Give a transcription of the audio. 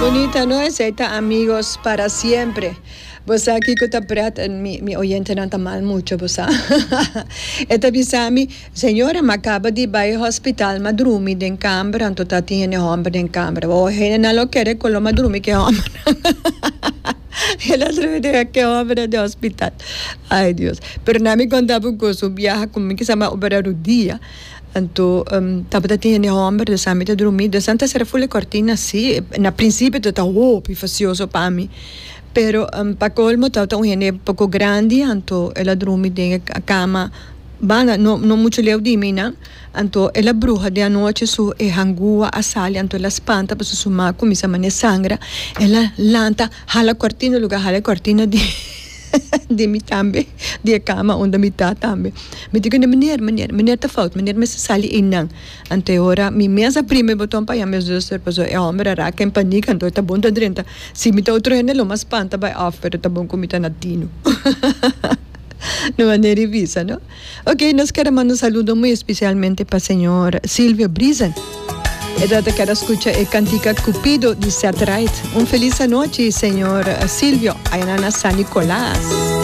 Bunita no esey ta amigos para siempre. Bo sa kiko ta pret mi mi oyentenan ta mal mucho bo sa. E ta bisa mi, Señora m'a caba di bay hospital m'a drumi den camber anto ta tin hende homber den camber. Bo hendenan lo kere cu lo m'a drumi ke hombernan. El a drumi den ke hombernan den hospital. Ay Dios. Pero na mi conta bo un cos, un biaha cu mi kisa m'a opera rudia. Anto tabata tin hende homber dus ami ta drumi dus nan ta sera ful e cortina si na principio ta ta hopi facioso pa mi pero pa colmo tabata un hende poco grandi anto el a drumi den e cama banda no no mucho leu di mi nan anto el a bruha den anochi su e hangua a sali anto el a spanta pasobra su ma cuminsa mane sangra el a lanta hala cortina lugar hala e cortina di di mi tambe, di e kama unda mi ta tambe. Mi di ku meneer, meneer, meneer ta fout, meneer mester sali einan. Anto e ora mi mes a primi e boton pa yama e zuster pasobra e homber a raka en panik anto e ta bon ta drenta. Si mi ta otro hende lo mas spanta bai of pero ta bon ku mi ta na tinu. No manera di bisa no. Ok, nos kere manda un saludo muy especialmente pa señor Silvio Briesen. E ta kere scucha e cantica Cupido di Seth Wright. Un feliz anochi, señor Silvio, allá na San Nicolas.